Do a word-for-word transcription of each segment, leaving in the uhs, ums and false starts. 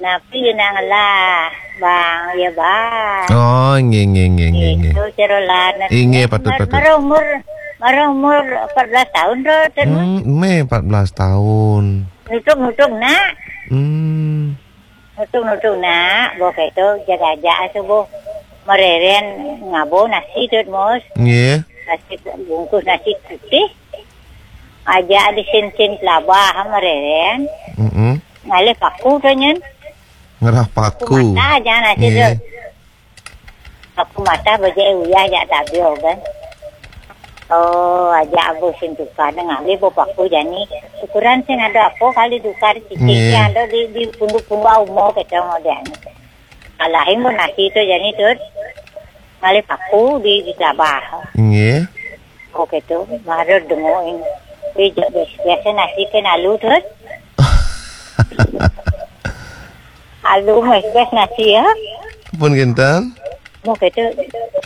Napi ya nak ngelah, Bang? Ya, Bang. Oh, nggih, nggih, nggih, nggih, nggih. Itu cerolan. Inggih, patut, patut. Mareh umur, mareh umur empat belas tahun tu, Tun. Hmm, meh empat belas tahun. Nutung-nutung, nak. Hmm. Nutung-nutung, nak. Boh keto, jaga aja asuh, boh. Mareren ngabo nasi tu, Mus. Nggih. Nasi bungkus nasi putih. Aja di sin-sin pelabah mareren. Mm-mm. Ngalih paku tu nyen. Ngerah paku. Paku mata aja nasi tu. Nggih. Paku mata bejek uyah jak tabio kan. Oh, aja abu sin tukar ngalih bo paku jani. Ukuran sin ada apa kali tukar cicing. Nggih. Ada di, di punduk-punduk umur kita modern. Alahin bo nasi tu jani tu. Ngalih paku di, di pelabah. Nggih. Oh, keto, baru dengokin. Tapi biasa nasi ke nalu tu. Alu meh biasa nasi ya. Pun kinten. Mau keto,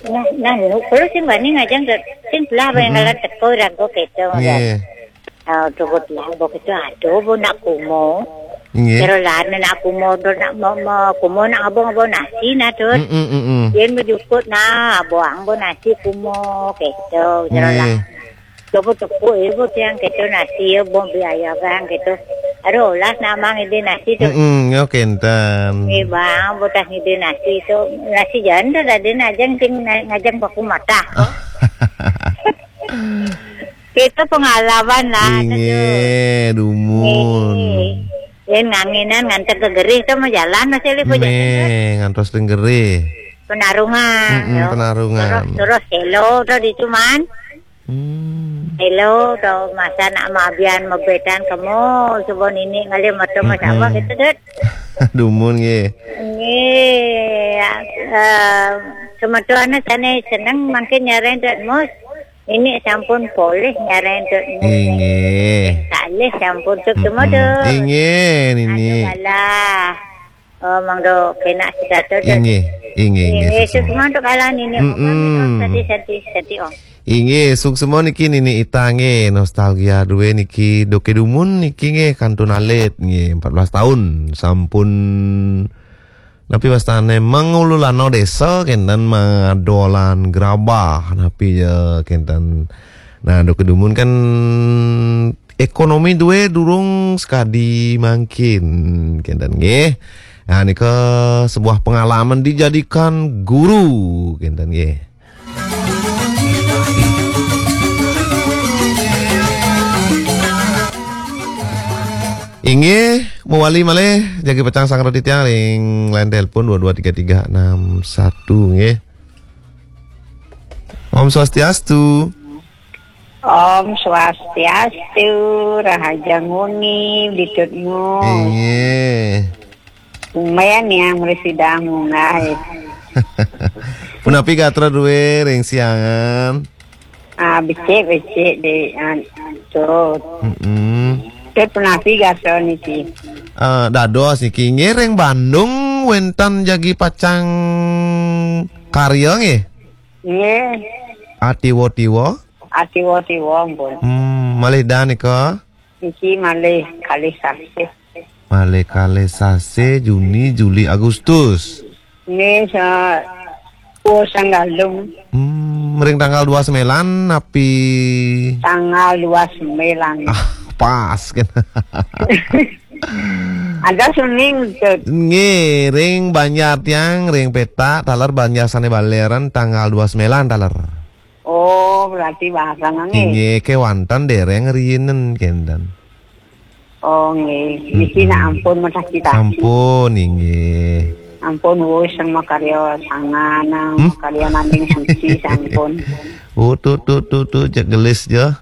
nah, nah, nu, perlu sing bani ngajang tu. Sing pelah bayang ngaran teko rago keto. Nggih. Ah, cukup lah, bo keto aduh, bo nak kumo. Nggih. Kira lah nak kumo, do nak ma, ma, kumo nak abang-abang nasi nah tu. Mm, mm, mm, mm. Yen mejukut nah, buang bo nasi kumo, keto, kira lah. Nggih. Tepuk-tepuk ibu tiang keto nasi ya, bo biaya bang keto. Aduh, olah namang ide nasi tu. Mm, mm, yo kenten. Eh, bang, bo tas ide nasi tu. Nasi janda dah dia nak jang, jang, ngajang baku mata. Kita pengalaman lah. Inggih, dumun. Inggih. Yen nganginan ngantek ke gerih tu mau jalan masih lipo jalan tu. Meh, ngantos teng gerih. Penarungan, mm-mm, yo. Penarungan. Terus, terus selo tu di cuman. Hmm. Selo tu masa nak mabian mabetan kemo, coba nini ngalih mata mas apa gitu, Dut. Dumun nggih. Nggih, ya, eh, semetuana sana seneng mangkin nyareng Dut Mus. Nini sampun polih nyareng Dut Mus. Inggih. Kalih sampun suk semua, Dut. Inggih, Nini. Aduh, alah. Oh, mangdo kena sitato, Dut. Inggih, inggih, inggih, suk semua. Suk semua tu kalah Nini. Mm-mm. Sati, sati, sati, oh. Inggih, suk semua niki Nini Ita nggih, nostalgia duwe niki, doke dumun niki nggih, kantun alit nggih, empat belas tahun sampun. Napi wastane mengululano desa kenten madolan gerabah napi ya kenten. Nah, dok kedumun kan ekonomi duwe durung sekadi mangkin kenten nggih. Nah, nika sebuah pengalaman dijadikan guru kenten nggih. Inggih, mewali malih, jagi pecang sang roti tiang ring line telepon dua dua tiga tiga enam satu, nggih. Om Swastiastu. Om Swastiastu, Rahaja Nguni, Ditut Ngu. Inggih. Lumayan yang merisidang munggah. Punapi gatra duwe ring siangan? Ah, becik, becik, Dek. Ah, Tut. Mm-mm. Tut, punapi gatra niki? Ah, dados niki. Nggih, ring Bandung wenten jagi pacang karya nggih? Nggih. Atiwa-tiwa? Atiwa-tiwa, ampun. Hmm, malih dah nika? Niki malih kalih sasih. Malih kalih sasih, Juni, Juli, Agustus. Nggih, sa-, oh, sanggalung. Hmm, ring tanggal dua sembilan napi? Tanggal dua sembilan. Ah, pas kan. Ada suning, Tut. Nggih, ring banjar tiang, ring peta, taler banjar sane baleran tanggal dua sembilan taler. Oh, berarti bareng, nggih. Inggih, kewanten dereng riinen kenten. Oh, nggih. Niki nak ampun mataki-taki. Sampun, inggih. Ampun, wus sing makarya sangan, hmm? Makarya nanding suci, sampun. Oh, tu, tu, tu, tu, cek gelis ja.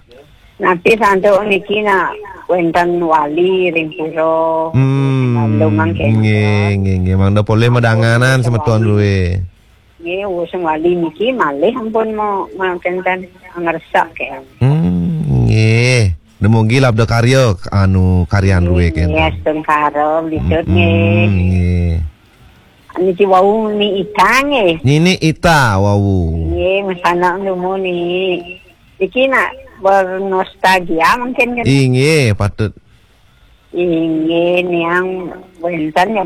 Nanti santuk niki nak wenten wali ring pura. Hmm, Bandung mangkin. Nggih, nggih, nggih. Mangda polih madanganan semeton duwe. Nggih, wus sing wali niki malih ampun mau, mau kenten ngersak ke. Hmm, nggih. Dumugi labda karya anu karyan ruwe kenten. Nggih, astungkara, Ditut, nggih. Mm-mm, nggih. Niki wau Nini Ita nggih. Nini Ita wau. Nggih, masanak dumun niki. Niki nak bernostalgia mungkin kan. Inggih, patut. Inggih, niang wenten ya,